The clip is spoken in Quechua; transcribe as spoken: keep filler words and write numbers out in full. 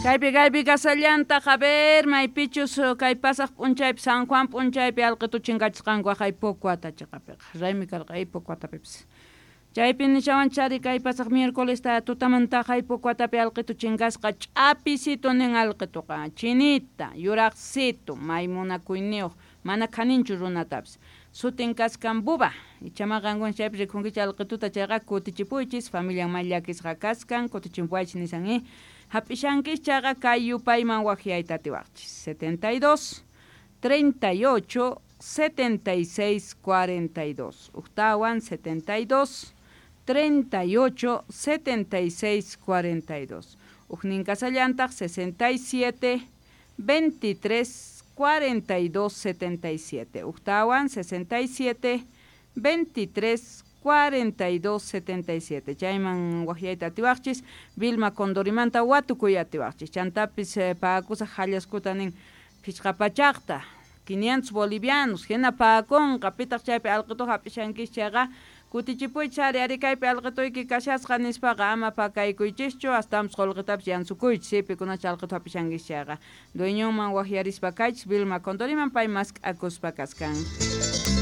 Kaypi kaypi kasallantaq, a ver, maypichus kay pasaq p'unchaypi San Juan p'unchaypi alqitu chinkachisqanku aqay Pocuata chiqapiqa raymi karqa ay Pocuatapipis. Chaypi nishawanchari kay pasaq miércoles tutamantaqa ay Pocuatapi alqitu chinkasqa ch'apisito nin alqituqa chinita yuraqsito may munakuyniyuq mana khaninchu runatapis sutin kaskan buba ichama qankuna chaypi rikunkichik alqituta chayqa kutichipuychis familian may llakisqa kaskan kutichimpuwaychis nisan i hap'ishankis chayqa kay yupayman waqyayta atiwaqchis setenta y dos, treinta y ocho, setenta y seis, cuarenta y dos uqtawan setenta y dos, treinta y ocho, setenta y seis, cuarenta y dos uqnin kasallantaq sesenta y siete, veintitrés, cuarenta y dos, setenta y siete uqtawan sesenta y siete, veintitrés, cuarenta y dos, setenta y siete chayman waqyayta atiwaqchis Vilma Condorimanta watukuy atiwaqchis chantapis eh, paakusaq hallaskuta nin phichqa pachaqta quinientos bolivianos hina paakunqa pitaq chaypi alqitu hap'ishankis chayqa kutichipuychis ari ari kaypi alqituyki kashasqa nispaqa ama pakaykuychischu astawanpis qullqitapis yansukuychis pikunacha alqitu hap'ishankis chayqa dueñonman waqyarispa kaychis Vilma Condoriman pay mask'akuspa kaskan.